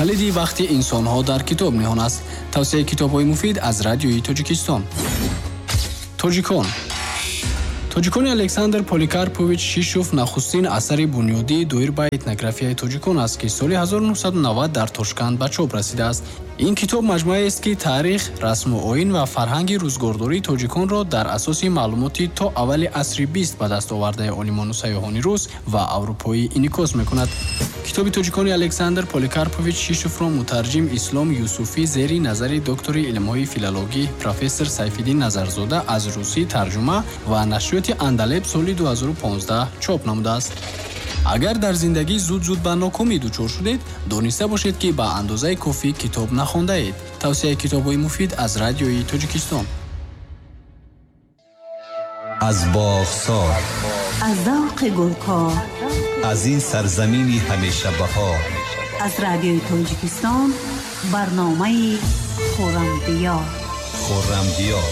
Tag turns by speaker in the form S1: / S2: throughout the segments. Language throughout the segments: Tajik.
S1: Калиди бахти инсонҳо дар китоб ниҳон аст. Тавсияи китобҳои муфид аз Радиои Тоҷикистон. Тоҷикон. Тоҷикони Александр Поликарпович Шишов нахустин асари бунёдии доир ба этнографияи тоҷикон аст, ки соли 1990 дар Тошканд ба чоп расидааст. Ин китоб маҷмӯаест, ки таърих, расму оин ва фарҳанги рӯзгордории тоҷиконро дар асоси маълумоти то аввали асри бист ба даст овардаи олимону сайёҳони рус ва аврупоӣ инъикос мекунад. Китоби тоҷикони Александр Поликарпович Шишовро мутарҷим Ислом Юсуфӣ зери назари доктори илмҳои филологӣ профессор Сайфиддин Назарзода аз русӣ тарҷума ва нашриёти Андалеб соли 2015 чоп намудааст. Агар дар зиндагӣ зуд-зуд ба нокомӣ дучор шудед, дониста бошед, ки ба андозаи кофӣ китоб нахондаед. Тавсияи китобҳои муфид аз Радиои Тоҷикистон.
S2: Аз боғсор,
S3: аз завқи гулкор,
S2: аз ин сарзамини ҳамешабаҳор,
S3: аз Радиои Тоҷикистон барномаи Хуррамдиёр.
S2: Хуррамдиёр.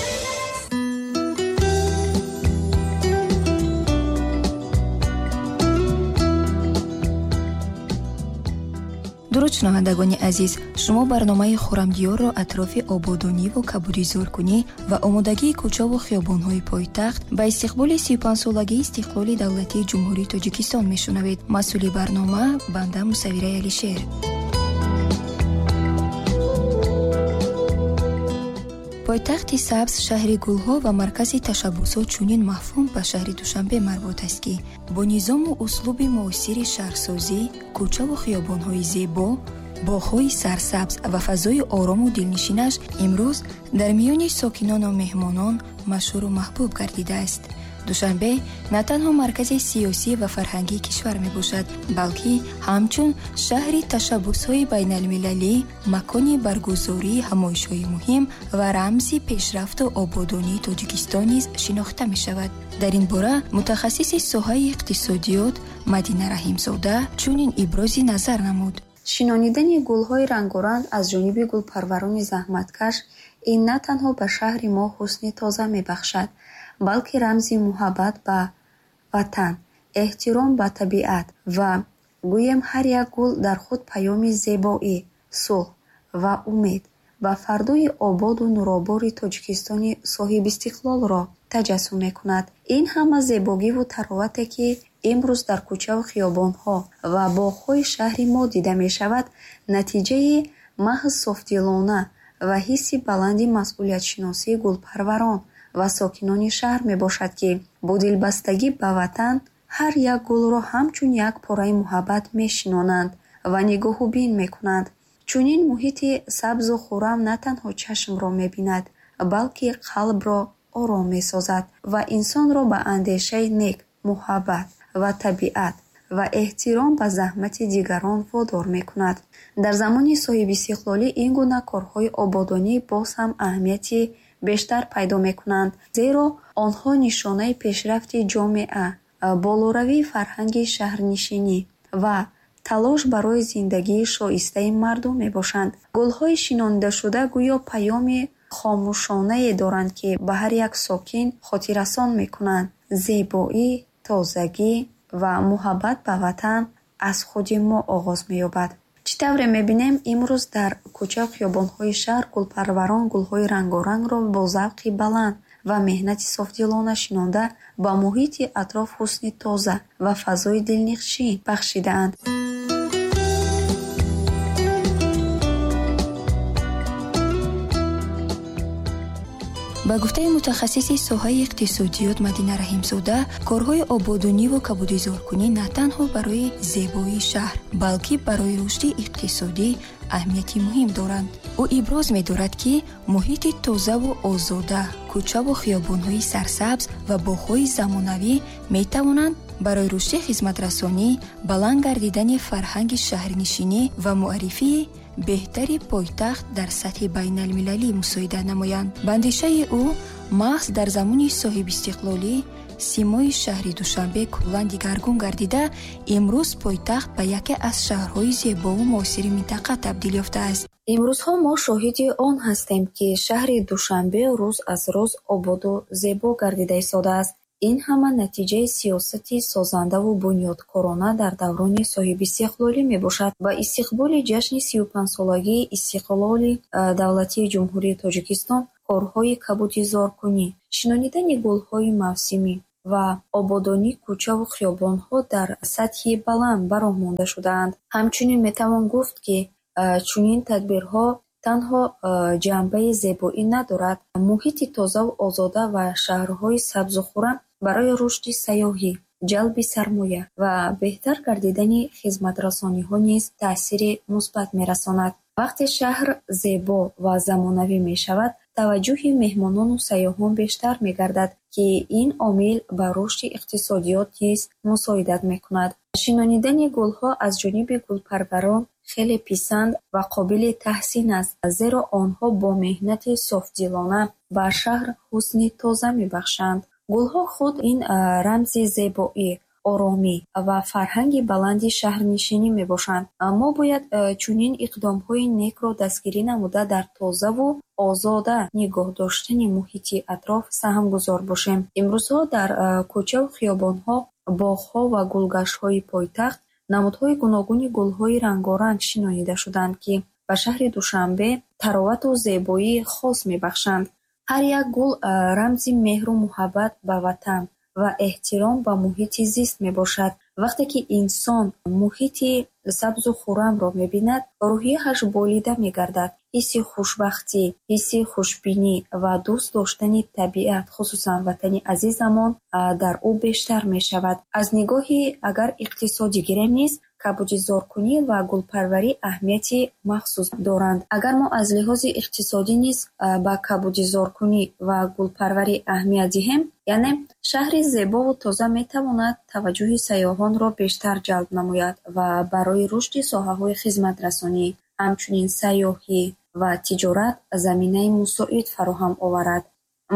S4: Дуруд, шунавандагони азиз, шумо барномаи Хуррамдиёрро атрофи ободониву кабудизоркунӣ ва омодагии кӯчаву хиёбонҳои пойтахт ба истиқболи 35-солагии истиқлоли давлатии Ҷумҳурии Тоҷикистон мешунавед. Масъули барнома банда Мусаввираи Алишер. Пойтахти сабз, шаҳри гулҳо ва маркази ташаббусҳо, чунин мафҳум ба шаҳри Душанбе марбут аст, ки бо низому услуби муосири шаҳрсозӣ, кӯчаву хиёбонҳои зебо, боғҳои сарсабз ва фазои орому дилнишинаш имрӯз дар миёни сокинону меҳмонон машҳуру маҳбуб гардидааст. Душанбе на танҳо маркази сиёсӣ ва фарҳангии кишвар мебошад, балки ҳамчун шаҳри ташаббусҳои байналмилалӣ, макони баргузории ҳамоишҳои муҳим ва рамзи пешрафту ободонии Тоҷикистон низ шинохта мешавад. Дар ин бора мутахассиси соҳаи иқтисодиёт Мадина Раҳимзода чунин ибрози назар намуд.
S5: Шинонидани гулҳои рангоранг аз ҷониби гулпарварони заҳматкаш ин на танҳо ба шаҳри мо ҳусни тоза мебахшад, балки рамзи муҳаббат ба ватан, эҳтиром ба табиат ва гӯем ҳар як гул дар худ паёми зебоӣ, сулҳ ва умед ба фардои ободу нуробори Тоҷикистони соҳибистиқлолро таҷассум мекунад. Ин ҳама зебогиву таровате, ки имрӯз дар кӯчаву хиёбонҳо ва боғҳои шаҳри мо дида мешавад, натиҷаи маҳз софдилона ва ҳисси баланди масъулиятшиносии гулпарварон ва сокинони шаҳр мебошад, ки бо дилбастагӣ ба ватан ҳар як гулро ҳамчун як пораи муҳаббат мешинонанд ва нигоҳубин мекунанд. Чунин муҳити сабзу хуррам на танҳо чашмро мебинад, балки қалбро ором месозад ва инсонро ба андешаи нек, муҳаббат ва табиат ва эҳтиром ба заҳмати дигарон водор мекунад. Дар замони соҳибистиқлолӣ ин гуна корҳои ободонӣ боз ҳам аҳамияти бештар пайдо мекунанд, зеро онҳо нишонаи пешрафти ҷомеа, болоравии фарҳанги шаҳрнишинӣ ва талош барои зиндагии шоистаи мардум мебошанд. Гулҳои шинонидашуда гӯё паёми хомӯшонае доранд, ки ба ҳар як сокин хотиррасон мекунанд: зебоӣ, тозагӣ ва муҳаббат ба ватан аз худи мо оғоз меёбад. Чӣ тавре мебинем, имрӯз дар кӯчаву хиёбонҳои шаҳр гулпарварон гулҳои рангорангро бо завқи баланд ва меҳнати софдилона шинонда ба муҳити атроф ҳусни тоза ва фазои дилнишин бахшидаанд.
S4: Ба гуфтаи мутахассиси соҳаи иқтисодиёт Мадина Раҳимзода, корҳои ободониву кабудизоркунӣ на танҳо барои зебоии шаҳр, балки барои рушди иқтисодӣ аҳамияти муҳим доранд. Ӯ иброз медорад, ки муҳити тозаву озода, кӯчаву хиёбонҳои сарсабз ва боғҳои замонавӣ метавонанд барои рушди хизматрасонӣ, баланд гардидани фарҳанги шаҳрнишинӣ ва муаррифии беҳтари пойтахт дар сатҳи байналмилалӣ мусоидат намоянд. Ба андешаи ӯ, маҳз дар замони соҳибистиқлолӣ симои шаҳри Душанбе куллан дигаргун гардида, имрӯз пойтахт ба яке аз шаҳрҳои зебову муосири минтақа табдил ёфтааст.
S5: Имрӯзҳо мо шоҳиди он ҳастем, ки шаҳри Душанбе рӯз аз рӯз ободу зебо гардида истодааст. Ин ҳама натиҷаи сиёсати созандаву бунёдкорона дар даврони соҳибистиқлолӣ мебошад. Ба истиқболи ҷашни 35-солагии истиқлоли давлатии Ҷумҳурии Тоҷикистон корҳои кабудизоркунӣ, шинонидани гулҳои мавсимӣ ва ободонии кӯчаву хиёбонҳо дар сатҳи баланд ба роҳ монда шудаанд. Ҳамчунин метавон гуфт, ки чунин тадбирҳо танҳо ҷанбаи зебоӣ надорад. Муҳити тозаву озода ва шаҳрҳои сабзу хуррам барои рушди сайёҳӣ, ҷалби сармоя ва беҳтар гардидани хизматрасониҳо низ таъсири мусбат мерасонад. Вақте шаҳр зебо ва замонавӣ мешавад, таваҷҷӯҳи меҳмонону сайёҳон бештар мегардад, ки ин омил ба рушди иқтисодиёт низ мусоидат мекунад. Шинонидани гулҳо аз ҷониби гулпарварон хеле писанд ва қобили таҳсин аст, зеро онҳо бо меҳнати софдилона ба шаҳр ҳусни тоза мебахшанд. Гулҳо худ ин рамзи зебоӣ, оромӣ ва фарҳанги баланди шаҳрнишинӣ мебошанд. Мо бояд чунин иқдомҳои некро дастгирӣ намуда, дар тозаву озода нигоҳ доштани муҳити атроф саҳмгузор бошем. Имрӯзҳо дар кӯчаву хиёбонҳо, боғҳо ва гулгаштҳои пойтахт намудҳои гуногуни гулҳои рангоранг шинонида шудаанд, ки ба шаҳри Душанбе таровату зебоии хос мебахшанд. Ҳар як гул рамзи меҳру муҳаббат ба ватан ва эҳтиром ба муҳити зист мебошад. Вақте ки инсон муҳити сабзу хуррамро мебинад, рӯҳияаш болида мегардад. Ҳисси хушбахтӣ, ҳисси хушбинӣ ва дӯст доштани табиат, хусусан ватани азизамон, дар ӯ бештар мешавад. Аз нигоҳи агар иқтисодӣ гирем низ, кабудизоркунӣ ва гулпарварӣ аҳамияти махсус доранд. Агар мо аз лиҳози иқтисодӣ низ ба кабудизоркунӣ ва гулпарварӣ аҳамият диҳем, яъне шаҳри зебову тоза метавонад таваҷҷӯҳи сайёҳонро бештар ҷалб намояд ва барои рушди соҳаҳои хизматрасонӣ, ҳамчунин сайёҳӣ ва тиҷорат заминаи мусоид фароҳам оварад.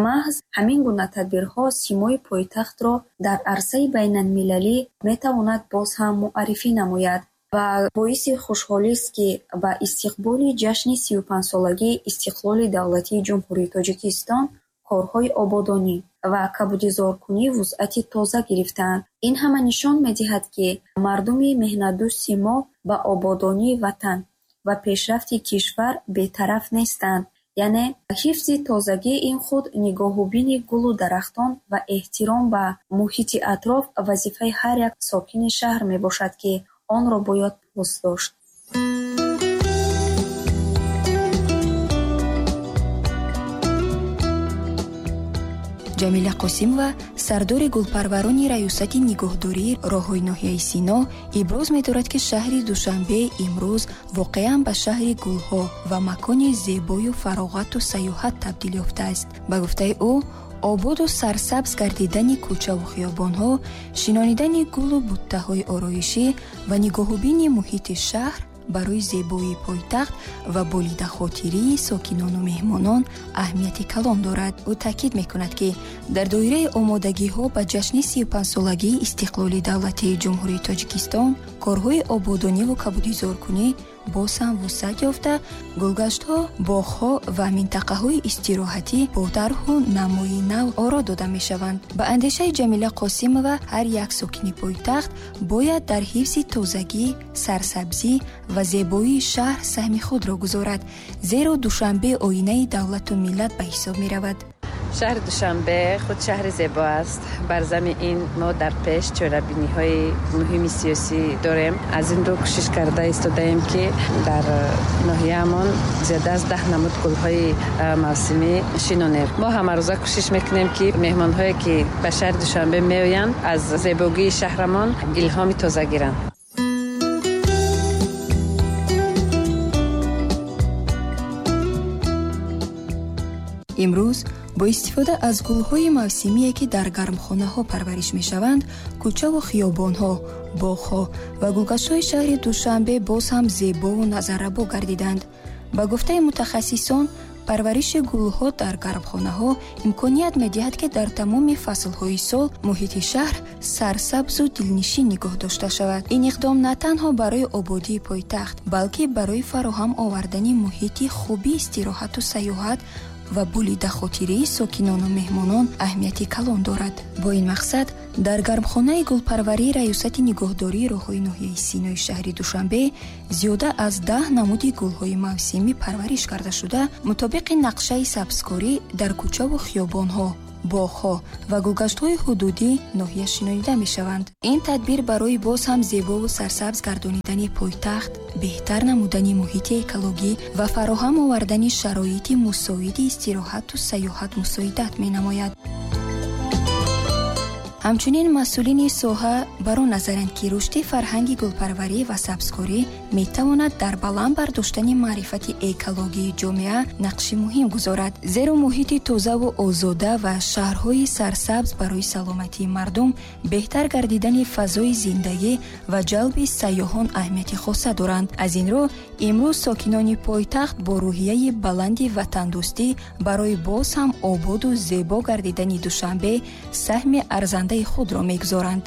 S5: Маҳз ҳамин гуна тадбирҳо симои пойтахтро дар арсаи байналмилалӣ метавонад боз ҳам муаррифӣ намояд ва боиси хушҳолист, ки ба истиқболи ҷашни 35-солагии истиқлоли давлатии Ҷумҳурии Тоҷикистон корҳои ободонӣ ва кабудизоркунӣ вусъати тоза гирифтаанд. Ин ҳама нишон медиҳад, ки мардуми меҳнатдӯсти мо ба ободонии ватан ва пешрафти кишвар бетараф нестанд. Яъне ҳифзи тозагии ин худ, нигоҳубини гулу дарахтон ва эҳтиром ба муҳити атроф вазифаи ҳар як сокини шаҳр мебошад, ки онро бояд пос дошт.
S4: Ҷамила Қосимова, сардори гулпарварони Раёсати нигоҳдории роҳҳои ноҳияи Сино, иброз медорад, ки шаҳри Душанбе имрӯз воқеан ба шаҳри гулҳо ва макони зебою фароғату сайёҳат табдил ёфтааст. Ба гуфтаи ӯ, ободу сарсабз гардидани кӯчаву хиёбонҳо, шинонидани гулу буттаҳои ороишӣ ва нигоҳубини муҳити шаҳр барои зебоии пойтахт ва болидахотирии сокинону меҳмонон аҳамияти калон дорад. Ӯ таъкид мекунад, ки дар доираи омодагиҳо ба ҷашни 35-солагии истиқлоли давлатии Ҷумҳурии Тоҷикистон корҳои ободониву кабудизоркунӣ боз ҳам вусъат ёфта, гулгаштҳо, боғҳо ва минтақаҳои истироҳатӣ бо тарҳу намои нав оро дода мешаванд. Ба андешаи Ҷамила Қосимова, ҳар як сокини пойтахт бояд дар ҳифзи тозагӣ, сарсабзӣ ва зебоии шаҳр саҳми худро гузорад, зеро Душанбе оинаи давлату миллат ба ҳисоб меравад.
S6: Шаҳри Душанбе худ шаҳри зебо аст. Бар замин ин мо дар пеш чорабиниҳои муҳими сиёсӣ дорем. Аз ин рӯ кӯшиш карда истодаем, ки дар ноҳияамон зиёда аз 10 намуд гулҳои мавсимӣ шинонем. Мо ҳамарӯза кӯшиш мекунем, ки меҳмонҳое, ки ба шаҳри Душанбе меоянд, аз зебогии шаҳрамон илҳоми тоза гиранд.
S4: Имрӯз бо истифода аз гулҳои мавсимие, ки дар гармхонаҳо парвариш мешаванд, кӯчаву хиёбонҳо, боғҳо ва гулгаштҳои шаҳри Душанбе боз ҳам зебову назаррабо гардиданд. Ба гуфтаи мутахассисон, парвариши гулҳо дар гармхонаҳо имконият медиҳад, ки дар тамоми фаслҳои сол муҳити шаҳр сарсабзу дилнишин нигоҳ дошта шавад. Ин иқдом на танҳо барои ободии пойтахт, балки барои фароҳам овардани муҳити хуби истироҳату сайёҳат Ва болидахотирии сокинону меҳмонон аҳамияти калон дорад. Бо ин мақсад дар гармхонаи гулпарварии Раёсати нигаҳдории роҳҳои ноҳияи Синои шаҳри Душанбе зиёда аз 10 намуди гулҳои мавсимӣ парвариш карда шуда, мутобиқи нақшаи сабзкорӣ дар кӯчаву хиёбонҳо, боғҳо ва гулгаштҳои ҳудудӣ ноҳия шинонида мешаванд. Ин тадбир барои боз ҳам зебову сарсабз гардонидани пойтахт, беҳтар намудани муҳити экологӣ ва фароҳам овардани шароити мусоиди истироҳату сайёҳат мусоидат менамояд. Ҳамчунин масъулини соҳа бар он назаранд, ки рушди фарҳанги гулпарварӣ ва сабзкорӣ метавонад дар баланд бардоштани маърифати экологии ҷомеа нақши муҳим гузорад, зеро муҳити тозаву озода ва шаҳрҳои сарсабз барои саломатии мардум, беҳтар гардидани фазои зиндагӣ ва ҷалби сайёҳон аҳамияти хоса доранд. Аз ин рӯ имрӯз сокинони пойтахт бо рӯҳияи баланди ватандӯстӣ барои боз ҳам ободу зебо гардидани Душанбе саҳми арзандаи худро мегузоранд.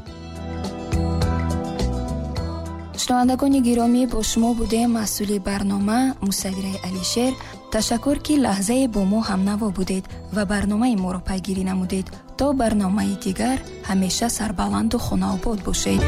S4: Шунавандагони гиромӣ, бо шумо будем маҳсули барнома Мусаввираи Алишер. Ташаккур, ки лаҳзае бо мо ҳамнаво будед ва барномаи моро пайгирӣ намудед. То барномаи дигар ҳамеша сарбаланду хонаобод бошед.